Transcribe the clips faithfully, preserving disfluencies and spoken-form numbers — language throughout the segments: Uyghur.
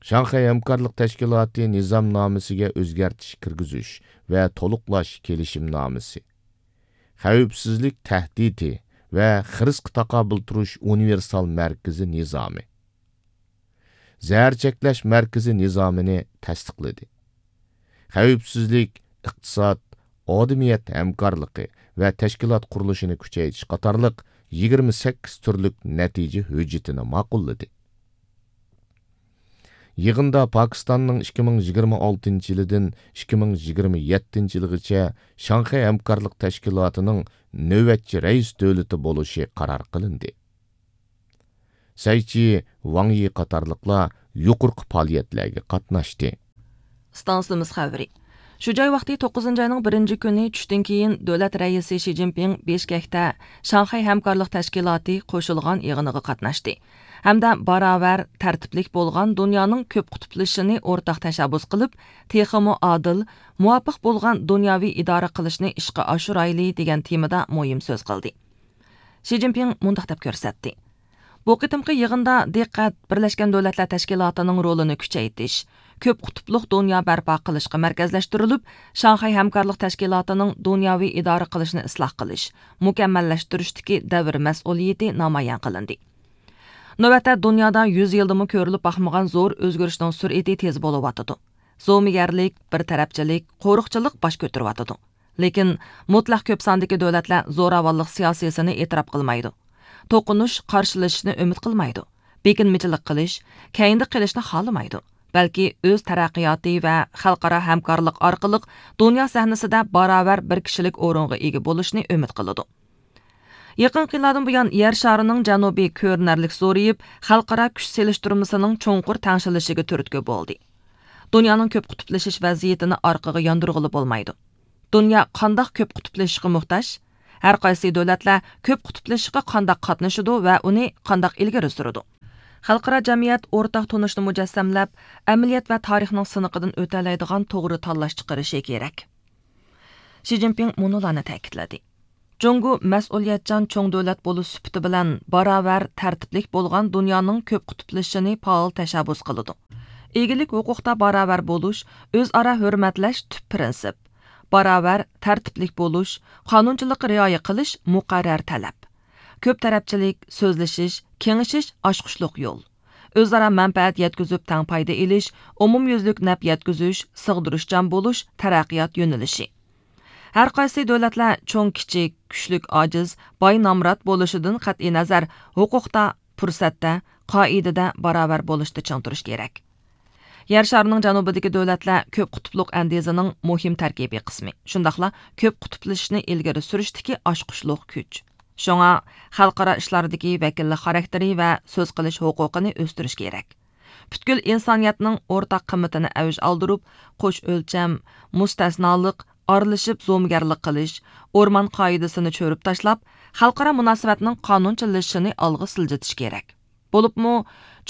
شاڭخەي ھەمكارلىق تەشكىلاتى نىزامنامىسىگە ئۆزگەرتىش كىرگۈزۈش ۋە تولۇقلاش كېلىشىمنامىسى. خەۋپسىزلىك تەھدىتى ۋە خىرىسقا تاقابىل تۇرۇش ئۇنىۋېرسال مەركىزى نىزامى. زەھەر چەكلەش مەركىزى نىزامىنى تەستىقلىدى. خەۋپسىزلىك، ئىقتىساد، ئادىمىيەت ھەمكارلىقى ۋە تەشكىلات قۇرۇلۇشىنى كۈچەيتىش قاتارلىق يىگىرمە سەككىز تۈرلۈك نەتىجە ھۆججىتىنى ماقۇللىدى. يىغىندا پاكىستاننىڭ ئىككى مىڭ يىگىرمە ئالتىنچى يىلىدىن ئىككى مىڭ يىگىرمە يەتتىنچى يىلىغىچە شاڭخەي ھەمكارلىق تەشكىلاتىنىڭ نۆۋەتچى رەئىس دۆلىتى بولۇشى قارار قىلىندى. سەي چى، ۋاڭ يى قاتارلىقلار يۇقىرىقى پائالىيەتلەرگە قاتناشتى. ئىستانسىمىز خەۋىرى. شۇ جاي ۋاقتى توققۇزىنچى ئاينىڭ بىرىنچى كۈنى چۈشتىن كېيىن دۆلەت رەئىسى شى جىنپىڭ بېشكەكتە شاڭخەي ھەمكارلىق تەشكىلاتى قوشۇلغان يىغىنىغا قاتناشتى ھەمدە باراۋەر، تەرتىپلىك بولغان دۇنيانىڭ كۆپ قۇتۇپلىشىشىنى ئورتاق تەشەببۇس قىلىپ، تېخىمۇ ئادىل، مۇۋاپىق بولغان دۇنياۋى ئىدارە قىلىشنى ئىشقا ئاشۇرايلى دېگەن تېمىدا مۇھىم سۆز قىلدى. شى جىنپىڭ مۇنداق دەپ كۆرسەتتى: بۇ قېتىمقى يىغىندا دىققەت بىرلەشكەن دۆلەتلەر تەشكىلاتىنىڭ رولىنى كۈچەيتىش، كۆپ قۇتۇپلۇق دۇنيا بەرپا قىلىشقا مەركەزلەشتۈرۈلۈپ، شاڭخەي ھەمكارلىق تەشكىلاتىنىڭ دۇنياۋى ئىدارە قىلىشنى ئىسلاھ قىلىش، مۇكەممەللەشتۈرۈشتىكى دەۋر مەسئۇلىيىتى نامايان قىلىندى. نۆۋەتتە دۇنيادا يۈز يىلدىمۇ كۆرۈلۈپ باقمىغان زور ئۆزگىرىشنىڭ سۈرئىتى تېز بولۇۋاتىدۇ. زومىگەرلىك، بىر تەرەپچىلىك، قورۇقچىلىق باش كۆتۈرۈۋاتىدۇ. لېكىن مۇتلەق كۆپ ساندىكى دۆلەتلەر زوراۋانلىق سىياسىيسىنى ئېتىراپ قىلمايدۇ. توقۇنۇش، قارشىلىشىشنى ئۈمىد قىلمايدۇ. بېكىنمىچىلىك قىلىش، كەينىدە قېلىشنى خالىمايدۇ. بەلكى ئۆز تەرەققىياتى ۋە خەلقئارا ھەمكارلىق ئارقىلىق دۇنيا سەھنىسىدە باراۋەر بىر كىشىلىك ئورۇنغا ئىگە بولۇشنى ئۈمىد قىلىدۇ. يېقىنقى يىللاردىن بۇيان يەر شارىنىڭ جەنۇبى كۆرۈنەرلىك زورىيىپ، خەلقئارا كۈچ سېلىشتۇرمىسىنىڭ چوڭقۇر تەڭشىلىشىگە تۈرتكە بولدى. دۇنيانىڭ كۆپ قۇتۇپلىشىش ۋەزىيىتىنى ئارقىغا ياندۇرغىلى بولمايدۇ. دۇنيا قانداق كۆپ قۇتۇپلىشىشقا موھتاج؟ ھەر قايسى دۆلەتلەر كۆپ قۇتۇپلىشىشقا قانداق قاتنىشىدۇ ۋە ئۇنى قانداق ئىلگىرى سۈرىدۇ؟ خەلقئارا جەمئىيەت ئورتاق تونۇشنى مۇجەسسەملەپ، ئەمەلىيەت ۋە تارىخنىڭ سىنىقىدىن ئۆتەلەيدىغان توغرا تاللاش چىقىرىشى كېرەك. شى جىنپىڭ مۇنۇلارنى تەكىتلىدى: جۇڭگو مەسئۇلىيەتچان چوڭ دۆلەت بولۇش سۈپىتى بىلەن باراۋەر، تەرتىپلىك بولغان دۇنيانىڭ كۆپ قۇتۇپلىشىشىنى پائال تەشەببۇس قىلىدۇ. ئىگىلىك ھوقۇقتا باراۋەر بولۇش، ئۆزئارا ھۆرمەتلەش تۈپ پىرىنسىپ. باراۋەر، تەرتىپلىك بولۇش، قانۇنچىلىققا رىئايە قىلىش مۇقەررەر تەلەپ. كۆپ تەرەپچىلىك، سۆزلىشىش، كېڭىشىش ئاچقۇچلۇق يول. ئۆزئارا مەنپەئەت يەتكۈزۈپ تەڭ پايدا ئېلىش، ئومۇميۈزلۈك نەپ يەتكۈزۈش، سىغدۇرۇشچان بولۇش تەرەققىيات يۆنىلىشى. ھەر قايسى دۆلەتلەر چوڭ كىچىك، كۈچلۈك ئاجىز، باي نامرات بولۇشىدىن قەتئىينەزەر، ھوقۇقتا، پۇرسەتتە، قائىدىدە باراۋەر بولۇشتا چىڭ تۇرۇش كېرەك. يەر شارىنىڭ جەنۇبىدىكى دۆلەتلەر كۆپ قۇتۇپلۇق ئەندىزىنىڭ مۇھىم تەركىبىي قىسمى، شۇنداقلا كۆپ قۇتۇپلىشىشنى ئىلگىرى سۈرۈشتىكى ئاچقۇچلۇق كۈچ. شۇڭا خەلقئارا ئىشلاردىكى ۋەكىللىك خاراكتېرى ۋە سۆز قىلىش ھوقۇقىنى ئۆستۈرۈش كېرەك. پۈتكۈل ئىنسانىيەتنىڭ ئورتاق قىممىتىنى ئەۋج ئالدۇرۇپ، قوش ئۆلچەم، مۇستەسنالىق، ئارىلىشىپ زومىگەرلىك قىلىش، ئورمان قائىدىسىنى چۆرۈپ تاشلاپ، خەلقئارا مۇناسىۋەتنىڭ قانۇنچىلىشىشىنى ئالغا سىلجىتىش كېرەك. بولۇپمۇ،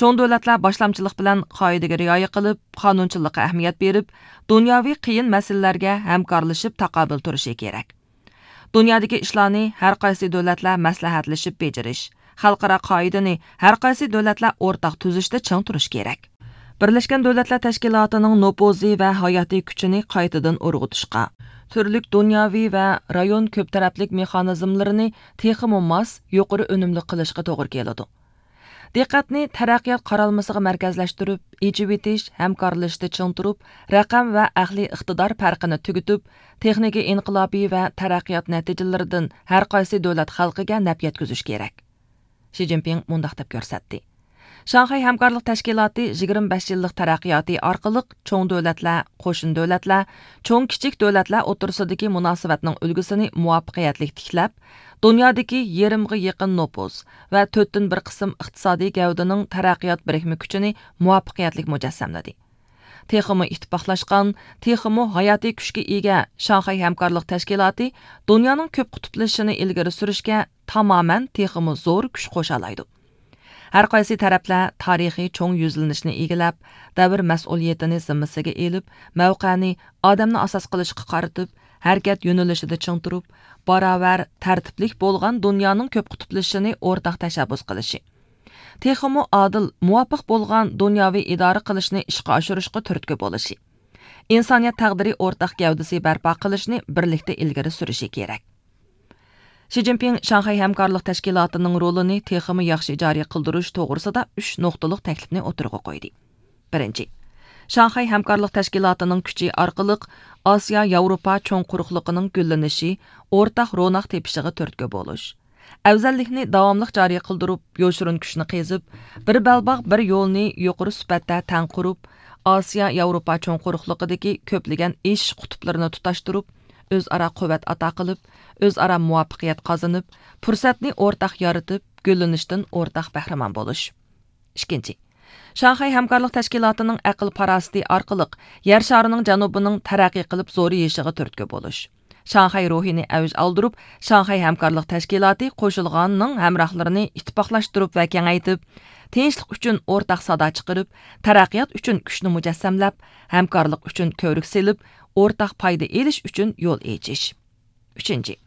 چوڭ دۆلەتلەر باشلامچىلىق بىلەن قائىدىگە رىئايە قىلىپ، قانۇنچىلىققا ئەھمىيەت بېرىپ، دۇنياۋى قىيىن مەسىلىلەرگە ھەمكارلىشىپ تاقابىل تۇرۇشى كېرەك. دۇنيادىكى ئىشلارنى ھەر قايسى دۆلەتلەر مەسلىھەتلىشىپ بېجىرىش، خەلقئارا قائىدىنى ھەر قايسى دۆلەتلەر ئورتاق تۈزۈشتە چىڭ تۇرۇش كېرەك. بىرلەشكەن دۆلەتلەر تەشكىلاتىنىڭ نوپۇزى ۋە ھاياتىي كۈچىنى قايتىدىن ئۇرغۇتۇشقا، تۈرلۈك دۇنياۋى ۋە رايون كۆپ تەرەپلىك مېخانىزملىرىنى تېخىمۇ ماس، يۇقىرى ئۈنۈملۈك قىلىشقا توغرا كېلىدۇ. دىققەتنى تەرەققىيات قارالمىسىغا مەركەزلەشتۈرۈپ، ئېچىۋېتىش، ھەمكارلىشىشتا چىڭ تۇرۇپ، رەقەم ۋە ئەقلىي ئىقتىدار پەرقىنى تۈگىتىپ، تېخنىكا ئىنقىلابى ۋە تەرەققىيات نەتىجىلىرىدىن ھەر قايسى دۆلەت خەلقىگە نەپ يەتكۈزۈش كېرەك. شى جىنپىڭ مۇنداق دەپ كۆرسەتتى: شاڭخەي ھەمكارلىق تەشكىلاتى يىگىرمە بەش يىللىق تەرەققىياتى ئارقىلىق چوڭ دۆلەتلەر، قوشنا دۆلەتلەر، چوڭ كىچىك دۆلەتلەر ئوتتۇرىسىدىكى مۇناسىۋەتنىڭ ئۈلگىسىنى مۇۋەپپەقىيەتلىك تىكلەپ، دۇنيادىكى يېرىمغا يېقىن نوپۇز ۋە تۆتتىن بىر قىسىم ئىقتىسادىي گەۋدىنىڭ تەرەققىيات بىرىكمە كۈچىنى مۇۋەپپەقىيەتلىك مۇجەسسەملىدى. تېخىمۇ ئىتتىپاقلاشقان، تېخىمۇ ھاياتىي كۈچكە ئىگە شاڭخەي ھەمكارلىق تەشكىلاتى دۇنيانىڭ كۆپ قۇتۇپلىشىشىنى ئىلگىرى سۈرۈشكە تامامەن تېخىمۇ زور كۈچ قوشالايدۇ. ھەر قايسى تەرەپلەر تارىخىي چوڭ يۈزلىنىشنى ئىگىلەپ، دەۋر مەسئۇلىيىتىنى زىممىسىگە ئېلىپ، مەۋقەنى ئادەمنى ئاساس قىلىشقا قارىتىپ، ھەرىكەت يۆنىلىشىدە چىڭ تۇرۇپ، باراۋەر، تەرتىپلىك بولغان دۇنيانىڭ كۆپ قۇتۇپلىشىشىنى ئورتاق تەشەببۇس قىلىشى. تېخىمۇ ئادىل، مۇۋاپىق بولغان دۇنياۋى ئىدارە قىلىشنى ئىشقا ئاشۇرۇشقا تۈرتكە بولۇشى، ئىنسانىيەت تەقدىرى ئورتاق گەۋدىسى بەرپا قىلىشنى بىرلىكتە ئىلگىرى سۈرۈشى كېرەك. شى جىنپىڭ شاڭخەي ھەمكارلىق تەشكىلاتىنىڭ رولىنى تېخىمۇ ياخشى جارى قىلدۇرۇش توغرىسىدا ئۈچ نۇقتىلىق تەكلىپنى ئوتتۇرىغا قويدى. بىرىنچى، شاڭخەي ھەمكارلىق تەشكىلاتىنىڭ كۈچى ئارقىلىق ئاسىيا ياۋروپا چوڭ قۇرۇقلۇقىنىڭ گۈللىنىشى، ئورتاق روناق تېپىشىغا تۈرتكە بولۇش. ئەۋزەللىكنى داۋاملىق جارى قىلدۇرۇپ، يوشۇرۇن كۈچنى قېزىپ، بىر بەلباغ، بىر يولنى يۇقىرى سۈپەتتە تەڭ قۇرۇپ، ئاسىيا ياۋروپا چوڭ قۇرۇقلۇقىدىكى كۆپلىگەن ئېشىش قۇتۇپلىرىنى تۇتاشتۇرۇپ، ئۆزئارا قۇۋۋەت ئاتا قىلىپ، ئۆزئارا مۇۋەپپەقىيەت قازىنىپ، پۇرسەتنى ئورتاق يارىتىپ، گۈللىنىشتىن ئورتاق بەھرىمەن بولۇش. ئىككىنچى، شاڭخەي ھەمكارلىق تەشكىلاتىنىڭ ئەقىل پاراسىتى ئارقىلىق يەر شارىنىڭ جەنۇبىنىڭ تەرەققىي قىلىپ زورىيىشىغا تۈرتكە بولۇش. شاڭخەي روھىنى ئەۋج ئالدۇرۇپ، شاڭخەي ھەمكارلىق تەشكىلاتى قوشۇلغاننىڭ ھەمراھلىرىنى ئىتتىپاقلاشتۇرۇپ ۋە كېڭەيتىپ، تىنچلىق ئۈچۈن ئورتاق سادا چىقىرىپ، تەرەققىيات ئۈچۈن كۈچنى مۇجەسسەملەپ، ھەمكارلىق ئۈچۈن كۆۋرۈك سېلىپ، ئورتاق پايدا ئېلىش ئۈچۈن يول ئېچىش. ئۈچىنچى،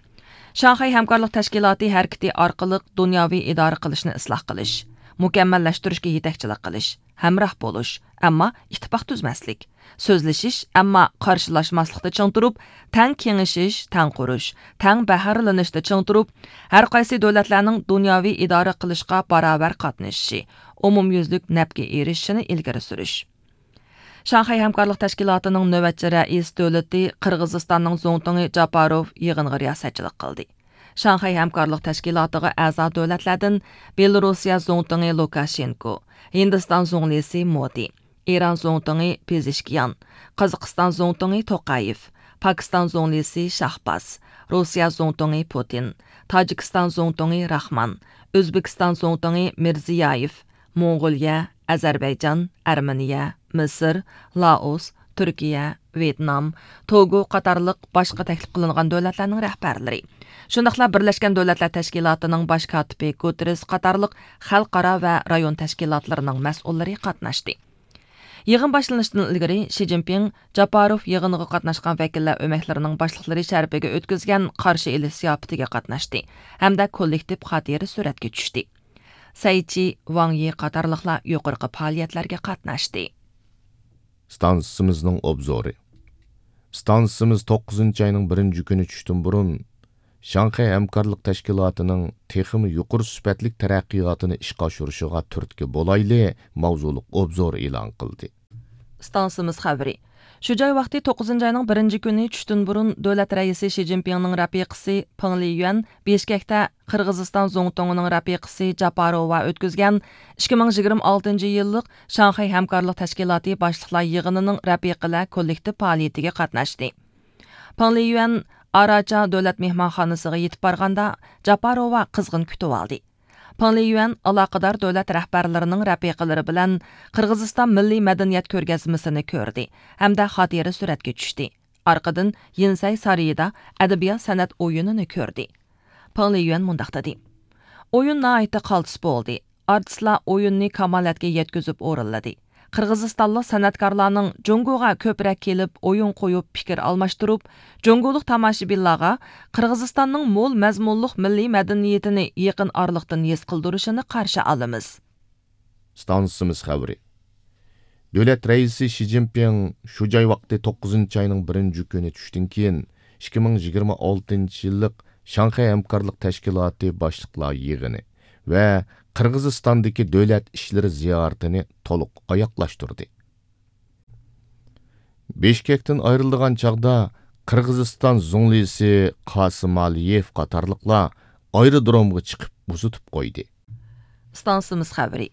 شاڭخەي ھەمكارلىق تەشكىلاتى ھەرىكىتى ئارقىلىق دۇنياۋى ئىدارە قىلىشنى ئىسلاھ قىلىش، مۇكەممەللەشتۈرۈشكە يېتەكچىلىك قىلىش، ھەمراھ بولۇش، ئەمما ئىتتىپاق تۈزمەسلىك، سۆزلىشىش، ئەمما قارشىلاشماسلىقتا چىڭ تۇرۇپ، تەڭ كېڭىشىش، تەڭ قۇرۇش، تەڭ بەھرىلىنىشتە چىڭ تۇرۇپ، ھەرقايسى دۆلەتلەرنىڭ دۇنياۋى ئىدارە قىلىشقا باراۋەر قاتنىشىشى، ئومۇميۈزلۈك نەپكە ئېرىشىشىنى ئىلگىرى سۈرۈش. شاڭخەي ھەمكارلىق تەشكىلاتىنىڭ نۆۋەتچى رەئىس دۆلىتى قىرغىزىستاننىڭ زۇڭتۇڭى جاپاروف يىغىنغا رىياسەتچىلىك قىلدى. شاڭخەي ھەمكارلىق تەشكىلاتىغا ئەزا دۆلەتلەردىن بېلورۇسىيە زۇڭتۇڭى لۇكاشېنكو، ھىندىستان زۇڭلىسى مودى، ئىران زۇڭتۇڭى پېزېشكىيان، قازاقىستان زۇڭتۇڭى توقايېف، پاكىستان زۇڭلىسى شاھباز، روسىيە زۇڭتۇڭى پۇتىن، تاجىكىستان زۇڭتۇڭى راخمان، ئۆزبېكىستان زۇڭتۇڭى مىرزىيايېف، موڭغۇلىيە، ئەزەربەيجان، ئەرمېنىيە، مىسىر، لائوس، تۈركىيە، ۋيېتنام، توگو قاتارلىق باشقا تەكلىپ قىلىنغان دۆلەتلەرنىڭ رەھبەرلىرى، شۇنداقلا بىرلەشكەن دۆلەتلەر تەشكىلاتىنىڭ باش كاتىپى گۇتېررېس قاتارلىق خەلقئارا ۋە رايون تەشكىلاتلىرىنىڭ مەسئۇللىرى قاتناشتى. يىغىن باشلىنىشتىن ئىلگىرى شى جىنپىڭ جاپاروف يىغىنىغا قاتناشقان ۋەكىللەر ئۆمەكلىرىنىڭ باشلىقلىرى شەرىپىگە ئۆتكۈزگەن قارشى ئېلىش زىياپىتىگە قاتناشتى ھەمدە كوللېكتىپ خاتىرە سۈرەتكە چۈشتى. سەي چى، ۋاڭ يى قاتارلىقلار يۇقىرىقى پائالىيەتلەرگە قاتناشتى. ئىستانسىمىزنىڭ ئوبزورى. ئىستانسىمىز توققۇزىنچى ئاينىڭ بىرىنچى كۈنى چۈشتىن بۇرۇن شاڭخەي ھەمكارلىق تەشكىلاتىنىڭ تېخىمۇ يۇقىرى سۈپەتلىك تەرەققىياتىنى ئىشقا ئاشۇرۇشىغا تۈرتكە بولايلى ماۋزۇلۇق ئوبزور ئېلان قىلدى. ئىستانسىمىز خەۋىرى. شۇ جاي ۋاقتى توققۇزىنچى ئاينىڭ بىرىنچى كۈنى چۈشتىن بۇرۇن دۆلەت رەئىسى شى جىنپىڭنىڭ رەپىقىسى پېڭ لىيۈەن بىشكەكتە قىرغىزىستان زۇڭتۇڭىنىڭ رەپىقىسى جاپاروۋا ئۆتكۈزگەن ئىككى مىڭ يىگىرمە ئالتىنچى يىللىق شاڭخەي ھەمكارلىق تەشكىلاتى باشلىقلار يىغىنىنىڭ رەپىقىلەر كوللېكتىپ پائالىيىتىگە قاتناشتى. پېڭ لىيۈەن ئاراچا دۆلەت مېھمانخانىسىغا يېتىپ بارغاندا، جاپاروۋا قىزغىن كۈتۈۋالدى. پېڭ لىيۈەن ئالاقىدار دۆلەت رەھبەرلىرىنىڭ رەپىقىلىرى بىلەن قىرغىزىستان مىللىي مەدەنىيەت كۆرگەزمىسىنى كۆردى ھەمدە خاتىرە سۈرەتكە چۈشتى. ئارقىدىن يىنسەي سارىيىدا ئەدەبىيات سەنئەت ئويۇنىنى كۆردى. پېڭ لىيۈەن مۇنداق دېدى: ئويۇن ناھايىتى قالتىس بولدى. ئارتىسلار ئويۇننى كامالەتكە يەتكۈزۈپ ئورۇنلىدى. قىرغىزىستانلىق سەنئەتكارلارنىڭ جۇڭگوغا كۆپرەك كېلىپ، ئويۇن قويۇپ، پىكىر ئالماشتۇرۇپ، جۇڭگولۇق تاماشىبىنلارغا قىرغىزىستاننىڭ مول مەزمۇنلۇق مىللىي مەدەنىيىتىنى يېقىن ئارىلىقتىن ھېس قىلدۇرۇشىنى قارشى ئالىمىز. ئىستانسىمىز خەۋىرى. دۆلەت رەئىسى شى جىنپىڭ شۇ جاي ۋاقتى توققۇزىنچى ئاينىڭ بىرىنچى كۈنى چۈشتىن كېيىن ئىككى مىڭ يىگىرمە ئالتىنچى يىللىق شاڭخەي ھەمكارلىق تەشكىلاتى باشلىقلار يىغىنى ۋە قىرغىزىستاندىكى دۆلەت ئىشلىرى زىيارىتىنى تولۇق ئاياغلاشتۇردى. بىشكەكتىن ئايرىلىدىغان چاغدا قىرغىزىستان زۇڭلىسى قاسىمئالىيېف قاتارلىقلار ئايرودرومغا چىقىپ ئۇزىتىپ قويدى. ئىستانسىمىز خەۋىرى.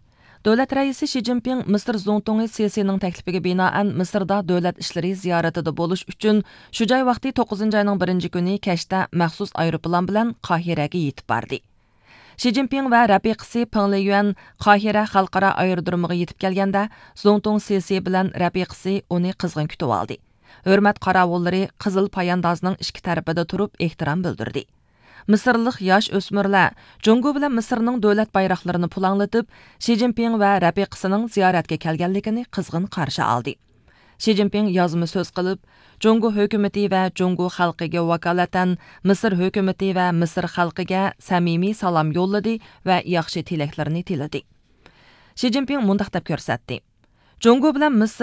دۆلەت رەئىسى شى جىنپىڭ مىسىر زۇڭتۇڭى سىسىنىڭ تەكلىپىگە بىنائەن مىسىردا دۆلەت ئىشلىرى زىيارىتىدە بولۇش ئۈچۈن شۇ جاي ۋاقتى توققۇزىنچى ئاينىڭ بىرىنچى كۈنى كەچتە مەخسۇس ئايروپىلان بىلەن قاھىرەگە يېتىپ باردى. شى جىنپىڭ ۋە رەپىقىسى پېڭ لىيۈەن قاھىرە خەلقئارا ئايرودرومىغا يېتىپ كەلگەندە، زۇڭتۇڭ سىسى بىلەن رەپىقىسى ئۇنى قىزغىن كۈتۈۋالدى. ھۆرمەت قاراۋۇللىرى قىزىل پاياندازنىڭ ئىككى تەرىپىدە تۇرۇپ ئېھتىرام بىلدۈردى. مىسىرلىق ياش ئۆسمۈرلەر جۇڭگو بىلەن مىسىرنىڭ دۆلەت بايراقلىرىنى پۇلاڭلىتىپ، شى جىنپىڭ ۋە رەپىقىسىنىڭ زىيارەتكە كەلگەنلىكىنى قىزغىن قارشى ئالدى. شى جىنپىڭ يازما سۆز قىلىپ، جۇڭگو ھۆكۈمىتى ۋە جۇڭگو خەلقىگە ۋاكالىتەن مىسىر ھۆكۈمىتى ۋە مىسىر خەلقىگە سەمىمىي سالام يوللىدى ۋە ياخشى تىلەكلىرىنى تىلىدى. شى جىنپىڭ مۇنداق دەپ كۆرسەتتى: جۇڭگو بىلەن مىسىر